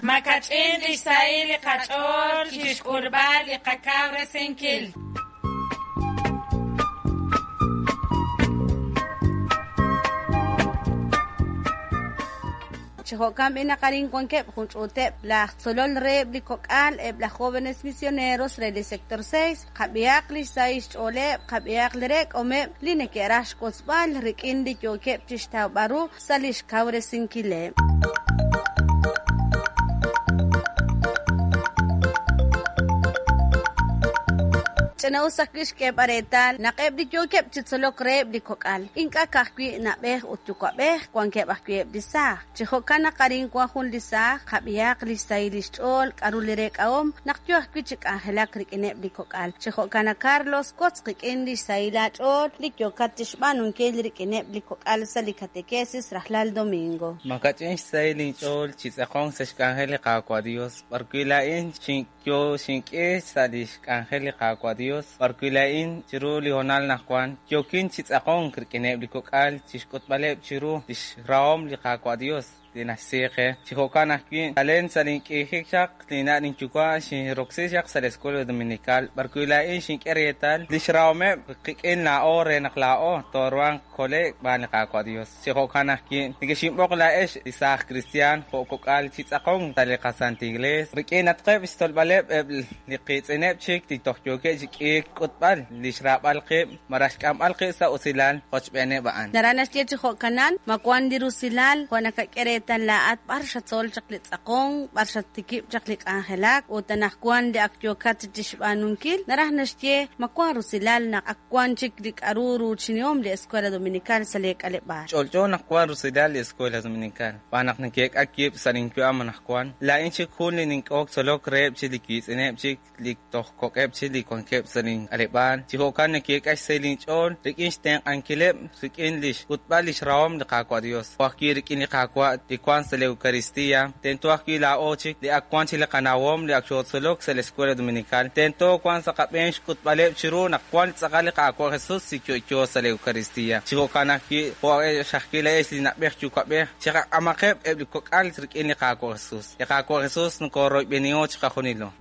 Makach'in lix sahil li qach'ool chixk'ulb'al li qakawresinkil. Chi jo'kan b'i' naq arin wankeb' jun ch'uuteb' laj tzolol reheb' li kok'al, eb' laj jóvenes misioneros re li sector 6, qab'ihaq li xsahil xch'ooleb', qab'ihaq li reek'omeb' li neke'raj xwotzb'al rik'in li yookeb' chixtawb'al ru sa' li xkawresinkileb'. Ch'ina'us ajwi' xk'eeb'al reetal naq eb' li yookeb' chi tzolok reheb' li kok'al ink'a' ka'ajwi' na'b'ej ut yuwa'b'ej, wankeb' ajwi' eb' li saaj. Chi jo'kan naq arin wan jun li saaj, qab'ihaq li xsahil li xch'ool, k'aru li reek'ahom naq yo ajwi' chi k'anjelak rik'ineb' li kok'al. Chi jo'kan a Carlos, wotz qik'in li xsahil aach'ool li yookat chi xb'aanunkil rik'ineb' li kok'al sa' li katekesis rajlal domingo. Makach'in xsahil inch'ool chi tz'aqonk sa' xk'anjel li Qaawa' Dios, b'arwi' laa'in xinyo xink'e sa' li xk'anjel li Qaawa' Dios, b'arwi' laa'in chiru li hoonal anaqwan yookin chi tz'aqonk rik'ineb' li kok'al chi xk'utb'aleb' chiru li xrahom li Qaawa' Dios li naxsi qe. Chi jo'kan ajwi', chalen sa' link'iijik chaq linna' linyuwa' xinroksi chaq sa' li Escuela Dominical, b'arwi' laa'in xink'e reetal li xrahomeb' qik'in laa'o re naq laa'o tooruhanq kole'k xb'aan li Qaawa' Dios. Chi jo'kan ajwi', nekexinb'oq laa'ex li saaj kristiaan jo' kok'al chi tz'aqonk sa' li qasantil Iglees, rik'inatqeb' xtzolb'aleb' eb' li qiitz'ineb' chik li toj yookeb' chi k'iik xk'utb'al li xraab'al qib' malaj xk'amb'al qib' sa' usilal qochb'eeneb' a'an. Naraj naxye chi jo'kanan, ma wan li rusilal jo' nakak'e reetal laa'at b'ar xatzol chaq li tz'aqonk, b'ar xatikib' chaq li k'anjelak ut anaqwan li ak yookat chixb'aanunkil, naraj naxye ma wan rusilal naq ak wan chik li k'aru ruuchinihom li Escuela Dominical sa' lee k'aleb'aal. Ch'olch'o naq wan rusilal li Escuela Dominical, xb'aan naq neke'k'a wib' sa' linyu'am anaqwan. Laa'in chik jun li nink'ehok tzolok reheb' chik li wiitz'ineb' chik li toj kok'eb' chik li wankeb' sa' link'aleb'aal. Chi jo'kan neke'k'a xsahil inch'ool rik'in xtenq'ankileb' rik'in li xk'utb'al li xrahom li Qaawa' Dios. Jo' ajwi' rik'in li Qaawa' li wank sa' li Eucaristía, tento ajwi' laa'o chik li ak wank chik li qanawom li ak xootzolok sa' li Escuela Dominical, tento wank sa' qab'een xk'utb'aleb' chiru naq wank tz'aqal li Qaawa' Jesús li yo'yo sa' li Eucaristía. Chi jo'kan ajwi' jo' ajwi' laa'ex li na'b'ej yuwa'b'ej, chiqak'amaqeb' eb' li kok'al rik'in li Qaawa' Jesús. Li Qaawa' Jesús nokoroyb'eniho chiqajunilo.